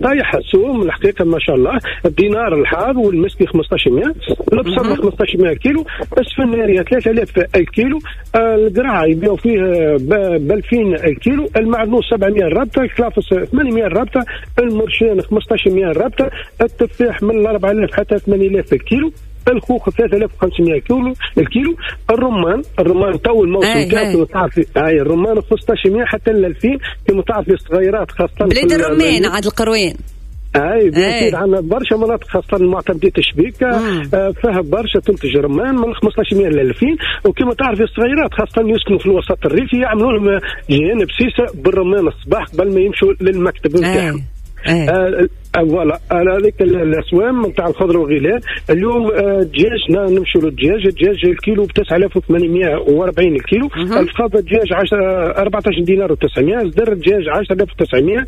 طايح السوم الحقيقة ما شاء الله. الدينار الحار والمسكي 1500، البصل 1500 كيلو، السفناريه 3000 الكيلو، القرعة يبيعوا فيه ب 2000 الكيلو، المعدنوس 700 الرابطة، الكلافس 800 الرابطة، المرشان 1500 الرابطة، التفاح من 4000 حتى 8000 الكيلو، الخوخ 3500 كيلو الكيلو، الرمان تو الموسم تاعو تعرفي هاي الرمان 1500 حتى ل 2000 كما تعرفي الصغيرات خاصة بلاد الرمان عاد القروين. اي bien عندنا برشا مناطق خاصة معتمديه الشبيكه فيها برشا تنتج رمان من 1500 ل 2000، وكما تعرفي الصغيرات خاصة يسكنوا في الوسط الريفي يعملوا لهم جهان بسيسه بالرمان الصباح قبل ما يمشوا للمكتب نتاعهم. voilà هذيك الاسوام نتاع الخضرة والغلال. اليوم الدجاج نمشوا للدجاج، الدجاج الكيلو ب 9840 الكيلو، الفخذ الدجاج 14 دينار و900، صدر الدجاج 10900،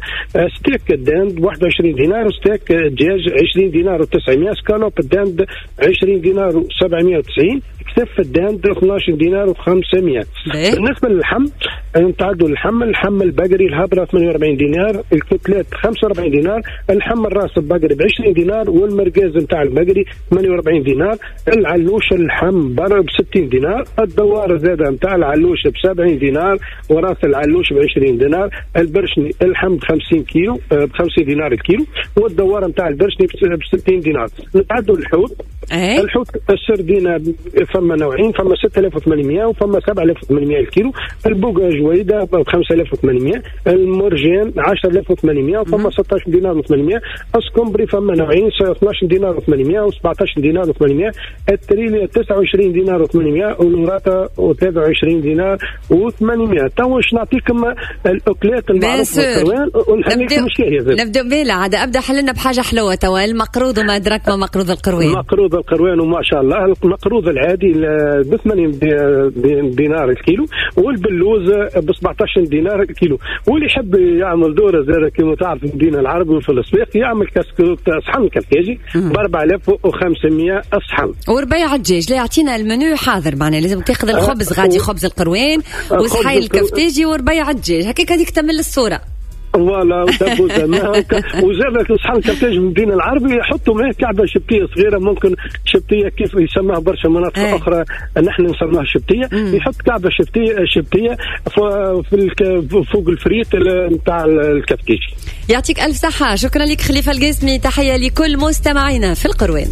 steak ال dinde 21 دينار، ستيك الدجاج 20 دينار و900، escalope ال dinde 20 دينار و790، كتف ال dinde 12 دينار و500. بالنسبة للحم نتعدوا اللحم البقري الهبره 48 دينار، ال côtelette 45 دينار، اللحم الراس البقري ب 20 دينار، والمرقاز نتاع البقري 48 دينار، العلوش اللحم ب 60 دينار، الدوار زاده نتاع العلوش ب 70 دينار، وراس العلوش ب 20 دينار، البرشني اللحم ب 50 كيلو ب 50 دينار الكيلو، والدوار نتاع البرشني ب 60 دينار. نتعدوا الحوت. الحوت السردينه فما نوعين، فما 6800 وفما 7800 الكيلو، البوغا جويده ب 5800، المرجان 10800 وفما 16 دينار و800، السكمبري فما نوعين 12 دينار و800 و17 دينار و800، التريليا 29 دينار و800، والوراثه 23 دينار و800. تو باش نعطيكم الاكلات المعروفة بالقروان ونخليكم شاهيه. نبداو بلا عاد ابدا حلنا بحاجة حلوة توا، المقروض وما ادراك ما مقروض القروان. مقروض القروان وما شاء الله، المقروض العادي ب 80 دينار الكيلو، والبلوز ب 17 دينار الكيلو. واللي يحب يعمل دوره زاد كما تعرف المدينة العربي وفي السويق يعمل كاسكروت صحن كفتاجي ب 4500 صحن. وربيع الدجاج لا يعطينا المنيو حاضر، معناها لازم تاخذ الخبز غادي خبز القروان وصحي الكفتاجي وربيع الدجاج هكاك هذيك تمل الصورة. voilà وزاد صحن الكفتاج من المدينة العربي يحطوا معاه كعبه شبتيه صغيرة، ممكن شبتيه كيف يسموها برشا مناطق اخرى نحن نسموها شبتيه، يحط كعبه شبتيه في فوق الفريت نتاع الكفتاج. يعطيك الف صحة، شكرا لك خليفة القاسمي، تحية لكل مستمعينا في القروان.